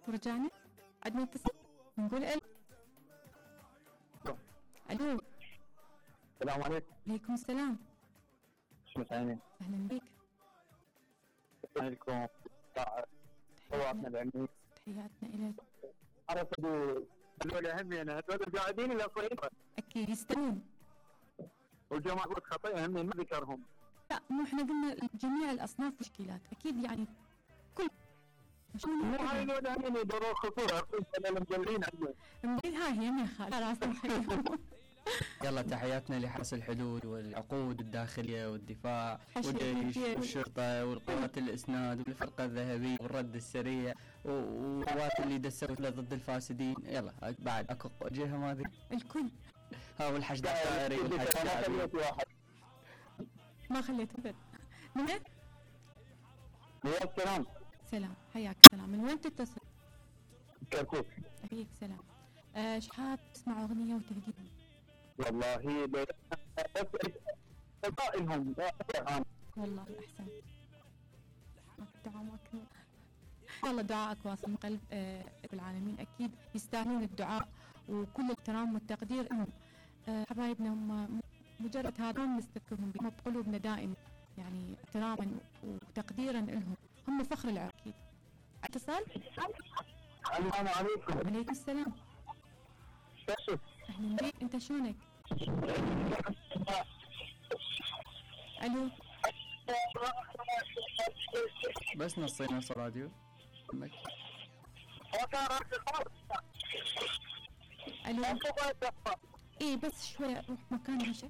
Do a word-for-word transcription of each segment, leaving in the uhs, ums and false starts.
ورجعنا عدنا اتصال نقول الو. الو السلام عليكم. عليكم السلام. شو مساعدين؟ اهلا بك. عليكم طوعتنا العلمي. تحياتنا الك. عرفوا هذول اهم يعني هذول قاعدين الى صغيره اكيد يستمعون. والجماعه خطأ اهم ما ذكرهم. لا مو احنا قلنا جميع الاصناف مشكلات اكيد يعني كل مو هاي هذول هم يدوروا خطوره انا المجلين عندنا. المجلين هاي هي من خالد راسهم خليهم. يلا تحياتنا لحرس الحدود والعقود الداخلية والدفاع والجيش والشرطة والقوات الإسناد والفرقة الذهبية والرد السريع والقوات اللي دسوا ضد الفاسدين. يلا بعد اكو جهة ما ذي الكل. ها والحشد الطائري والحشد ما خليت ابد. من وين؟ وياك سلام. سلام حياك سلام. من وين تتصل؟ كركوك. عليك سلام. آه شحات تسمع أغنية وتهديهم؟ والله بس قائلهم والله أحسن. دعاء والله دعائك واصل من قلب آه العالمين أكيد يستاهلون الدعاء وكل الاحترام والتقدير لهم. آه حبايبنا هم مجرد هذا نستذكرهم بهم بقلوبنا دائما يعني احتراما وتقديرا لهم. هم فخر العراق أكيد. اتصال. السلام عليكم. عليكم السلام. اهلا بك. انت شلونك؟ الو بس نصي نص راديو. الو ايه بس شوي روح مكان هشة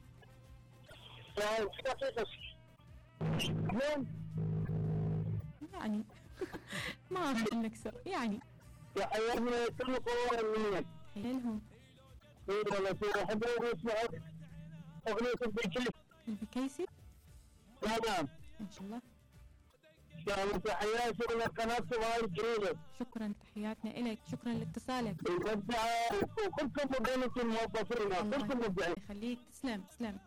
يعني ما اعرف نكسر يعني يا حياتنا كل قوة منك حيالهم. ايه والله شو احب اسمعك اغنية البكيسي. البكيسي؟ نعم ان شاء الله. شكرا تحياتي شغل القناة هاي الجديدة. شكرا تحياتنا إليك. شكرا لاتصالك. كلكم مبدعين الموظفين كلكم مبدعين. يخليك. تسلم تسلم.